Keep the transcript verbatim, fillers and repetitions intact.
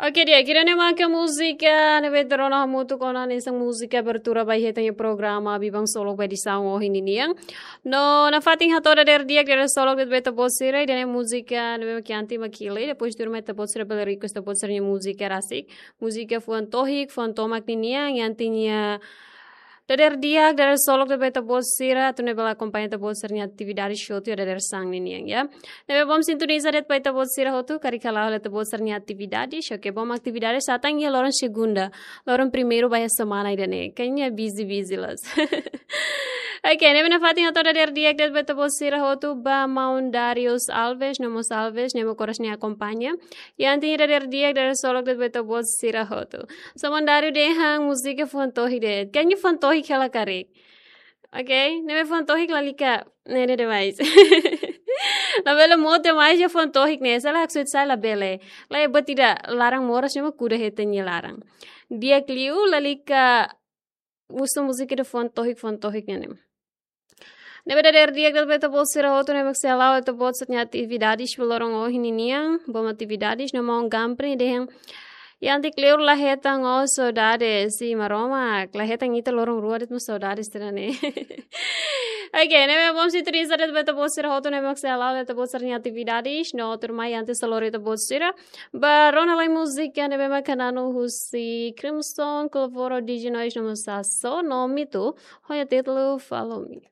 Oke, di'ak, ida-ne'e mak múzika ne'ebé ita rona hamutuk ona hanesan múzika abertura ba ita-nia programa Biban Solok ba edisaun ohin ninian. No nafatin hato'o dadeer di'ak, dadeer solok de'it ba ita-boot sira, ida-ne'e múzika ne'ebé mak iha ita-nia kili, depois tuirmai ita-boot sira bele request ita-boot sira-nia múzika rasik. Múzika fuan tohik, fuan tomak ninian, iha ita-nia dadeer di'ak, dadeer solok de'it ba ita-boot sira, atu nune'e bele akompaña ita-boot sira-nia atividade hotu iha dadeer-saan ninian, ya. Ne'ebé bom sintoniza de'it ba ita-boot sira hotu, karik hala'o hela ita-boot sira-nia atividade, oke, bom atividade sei tan iha loron segunda, loron primeiru ba iha semana ida-ne'e. Kayaknya busy-busy loos. Oke, ne'ebé nafatin hato'o dadeer di'ak de'it ba ita-boot sira hotu ba maun Darius Alves, no mós Alves, ne'ebé mak oras ne'e akompaña. Iha ita-nia dadeer di'ak, dadeer solok de'it ba ita-boot sira hotu. Só maun Darius dehan múzika fuan tohik de'it. Kayaknya fuan tohik hela karik. Oke, ne'ebé fuan tohik lalika, ne'e, ne'e demais. Labele mood demais iha fuan tohik ne'e, se la haksoit sa'e labele. Laiha buat ida laran moras ne'e mak kuda iha ita-nia laran. Di'ak liu lalika husu múzika ida fuan tohik, fuan tohik ne'e. Ne'ebé dadeer di'ak de'it ba ita-boot sira hotu ne'ebé mak sei hala'o ita-boot sira-nia atividades ba loron ohin ninian, bom atividades, no maun Gampri dehan, iha ita-nia kleur la hetan ó saudades, i Maromak, la hetan ita loron rua de'it mak saudades tiha ona ne'e. Oke, ne'ebé bom sintoniza de'it ba ita-boot sira hotu ne'ebé mak sei hala'o ita-boot sira-nia atividades, no tuirmai antes sei lori ita-boot sira ba rona lai múzika ne'ebé mak hananu husi Crimson, Clavoro, Diginois, no mós Sasso, no Mitu, ho nia títulu Follow Me.